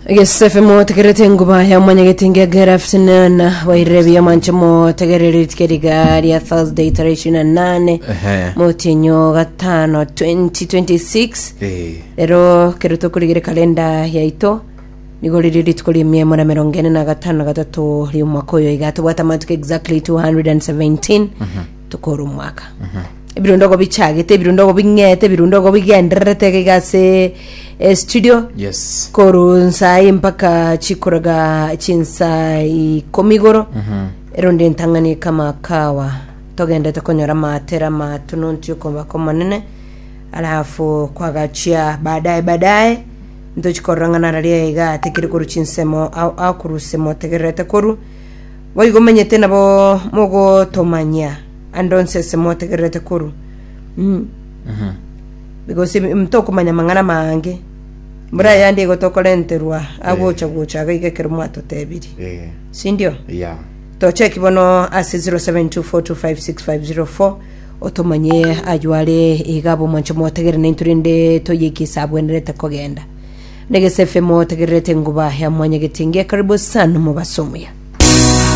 Egesefe motegerete enguba ya omonyegeti ngegera afternoon wairire buya mwanche motegerere rituko riga ria Thursday tarehe 28 Ehe. motienyo gatano 2026 Eh. rero kero tokorigere kalenda yaito nigo riri rituko ria emiemo na emerongo ene na gatano na gatato ri'omwaka oyo iga tobwate amatuko exactly 217 tokore omwaka ebirundogo bichagete ebirundogo bing'ete ebirundogo bigendererete iga iga ase eh, studio Yes. koru nsai mpaka chikoraga chinsa ikomi igoro eronde entang'ani kama kawa togendete konyora amatera amatununtu yokoba omonene alafu kwagachia baadaye baadaye ntochikorora ng'a nararia iga atekire koru chinsemo ao akoruse motegererete koru boigo omanyete nabo mogotomanyia ande onsi ase motegererete koru mm. Because ntokomanya amang'ana amange mbura yande igo tokorenterwa agocha gocha iga iga ekero mwatotebirie Eh. sindio Yeah. tocheki bono ase 0724256504 otomanye aywo are iga abwo mwanche motegere naintwe rende toyeke ase abwenerete kogenda negese fm otegererete enguba ya mwanyagetinge karibu sana omobaso omuya.